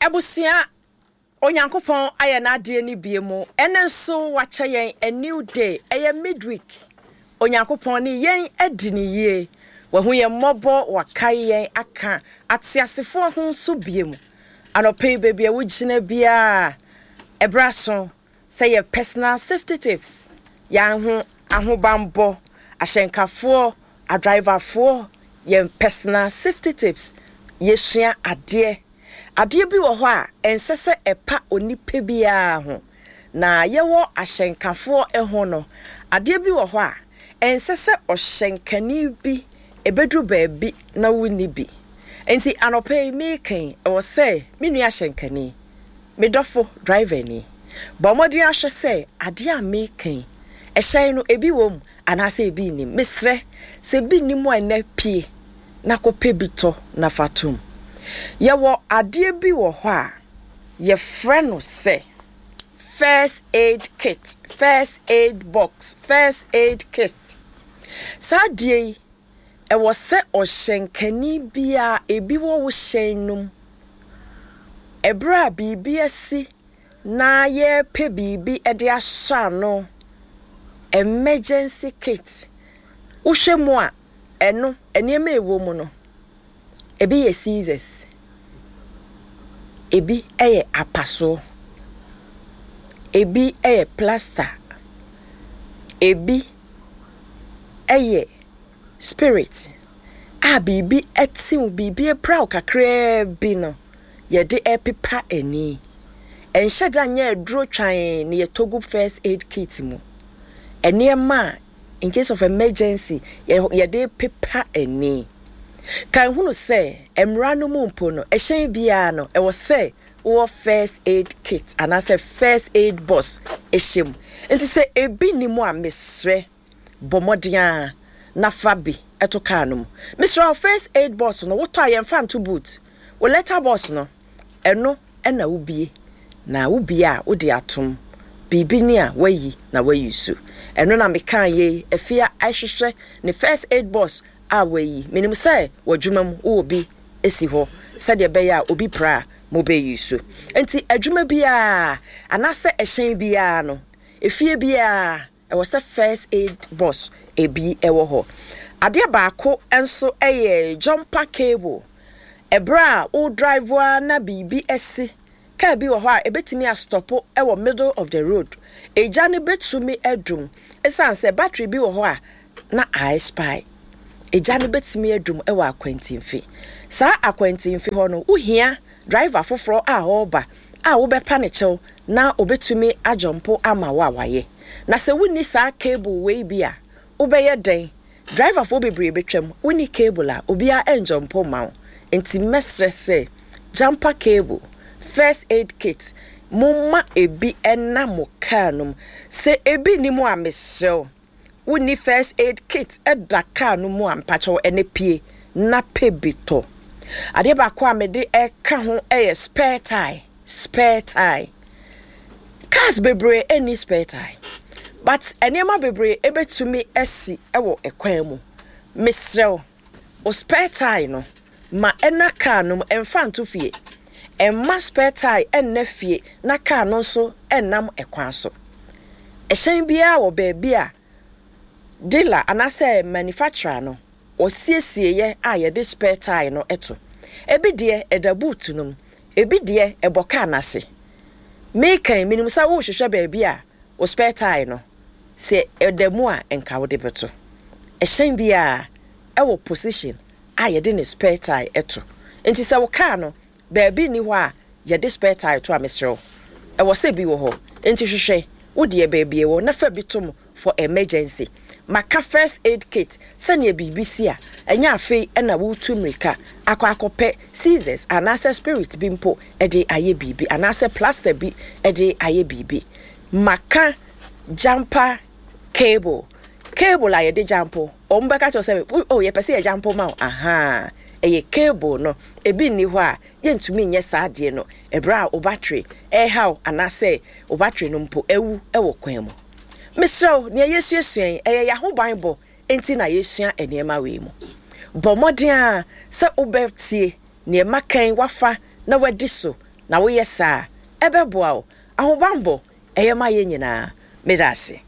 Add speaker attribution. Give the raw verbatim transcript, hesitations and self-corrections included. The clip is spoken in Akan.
Speaker 1: Abusua, Onyankopɔn ayɛ n'adeɛ no bie mu. Ɛno nso wakyɛ yɛn a new day. Ɛyɛ midweek. Onyankopɔn ne yɛn adi ne yie. Wahu yɛn mmɔbɔ, wakae yɛn aka ateasefoɔ ho nso bie mu. Anɔpɛ yi, baabi a wogyina biara, ɛberɛ so sɛ yɛ personal safety tips, yɛn ho ahobanbɔ, ahyɛnkafoɔ, adriverfoɔ, yɛn personal safety tips, yɛsua adeɛ. Adeɛ bi wɔ hɔ a ɛnsɛ sɛ ɛpa onipa biara ho, na yɛwɔ ahyɛnkafoɔ ho no, adeɛ bi wɔ hɔ a ɛnsɛ sɛ ɔhyɛnkani bi ɛbɛduru baabi na wonni bi. Nti anɔpɛ yi meekan, ɛwɔ sɛ me nua ahyɛnkani, me dɔfo driver ni, bɔ mmɔden ahwɛ sɛ adeɛ a meekan, ɛhyɛn no ebi wɔ mu anaasɛ ebi nnim. Mesrɛ sɛ ebi nnim a, ɛnɛ pie na kɔpɛ bi tɔ na fa tom. Yɛwɔ adeɛ bi wɔ hɔ a yɛfrɛ no sɛ first aid kit, first aid box, first aid kit. Saa adeɛ yi, ɛwɔ sɛ ɔhyɛnkani biara ebi wɔ wo hyɛn no mu. Ɛberɛ a biribi asi na yɛrepɛ biribi de asɔ ano, emergency kit, wohwɛ mu a, ɛno nneɛma a ɛwɔ mu no, ebi yɛ scissors, ebi yɛ apasoɔ, ebi yɛ plaster, ebi yɛ spirit a biribi te wo, biribi apira wo kakraa bi no, yɛde repepa ani. Ɛnhyɛ da nyɛ aduro twan na yɛtɔ gu first aid kit mu. Nneɛma a in case of emergency yɛde pepa ani. Kan hunu sɛ mmara no mu mpo no, ɛhyɛn biara no, ɛwɔ sɛ wowɔ first aid kit anaasɛ first aid box ɛhyɛ mu. Nti sɛ ebi ni mu a, mesrɛ, bɔ mmɔden a na fa bi ɛto kaa no mu. Mesrɛ wo, first aid box no, wotɔ a, yɛmfa nto boot. Wo letter box no, ɛno ɛna wobie, na wobie a, wode atom biribi ni a wayi na wayi so. Ɛno na meka yei afia ahwehwɛ ne first aid box a wayi. Menim sɛ w'adwuma mu wowɔ bi esi hɔ sɛdeɛ ɛbɛyɛ a obi pra a mobɛyi so. Nti adwuma biara anaasɛ ɛhyɛn biara no, efie biara, ɛwɔ sɛ first aid box ebi ɛwɔ hɔ. Adeɛ baako nso yɛ jumper cable. Ɛberɛ a wo drive a na biribi asi, kaa bi wɔ hɔ a ebetumi astop ɛwɔ middle of the road, egya no betumi adum ɛsiane sɛ battery bi wɔ hɔ a na expire. Egya no betumi adum ɛwɔ akwantimfi. Saa akwantimfi hɔ no, wohia driver foforɔ a ɔreba a wobɛpa ne kyɛw na obetumi ajump ama wo a wayɛ. Na sɛ wonni saa cable wei bi a, wobɛyɛ dɛn? Driverfoɔ bebree betwam, wonni cable a, obiara ɛnjump ma wo. Nti mɛsrɛ sɛ jumper cable, first aid kit, momma ebi ɛna mo kaa no mu. Sɛ ebi ni mu a, mesrɛ wo, wonni first aid kit ɛda kaa no mu a, mpakyɛw, ɛne pie na pɛ bi tɔ. Adeɛ baako a mede ɛka ho ɛyɛ spare tire. Spare tire, cars bebree ɛni spare tire, but nneɛma bebree ɛbɛtumi asi ɛwɔ ɛkwan mu. Mesrɛ wo, o spare tire no, ma ɛna kaa no mu, ɛmfa nto fie. Ɛmma spare tire ɛnna fie na kaa no nso ɛnam ɛkwan so. Ɛhyɛn biara wɔ baabi a dealer anaasɛ manufacturer no wɔsiesie a yɛde spare tire no ɛto. Ebi deɛ ɛda boot no mu, ebi deɛ ɛbɔ kaa n'ase. Meekan, menim sɛ wohwehwɛ baabi a o spare tire no sɛ ɛda mu a nka wode bɛto. Ɛhyɛn biara ɛwɔ position a yɛde ne spare tire ɛto. Nti sɛ wo kaa no baabi ni hɔ a yɛde spare tire to a, mesrɛ wo, ɛwɔ sɛ bi wɔ hɔ. Nti hwehwɛ wodeɛ baabi ɛwɔ na fa bi to mu for emergency. Maka first aid kit sɛnea biribi si a, ɛnyɛ afei ɛna wotu mmirika akɔ akɔpɛ scissors anaasɛ spirit bi mpo ɛde ayɛ biribi anaasɛ plaster bi ɛde ayɛ biribi. Maka jumper cable, cable a yɛde jump. Wɔn bɛka kyerɛ sɛ, "Oh, yɛpɛ sɛ yɛ jump ma wo." Aha, ɛyɛ cable no. Ebi nni hɔ a, yɛntumi nyɛ saa adeɛ no. Ɛberɛ a wo battery ɛrehaw anaasɛ wo battery no mpo ɛwu ɛwɔ kwan mu, mesrɛ wo, nea yɛsuasua yi, ɛyɛ yɛahobanbɔ nti na yɛsua nneɛma wei mu. Bɔ mmɔden a sɛ wobɛtie nneɛma kan wafa na wadi so. Na woyɛ saa a, ɛbɛboa wo. Ahobammɔ, ɛyɛ ma yɛn nyinaa. Meda ase.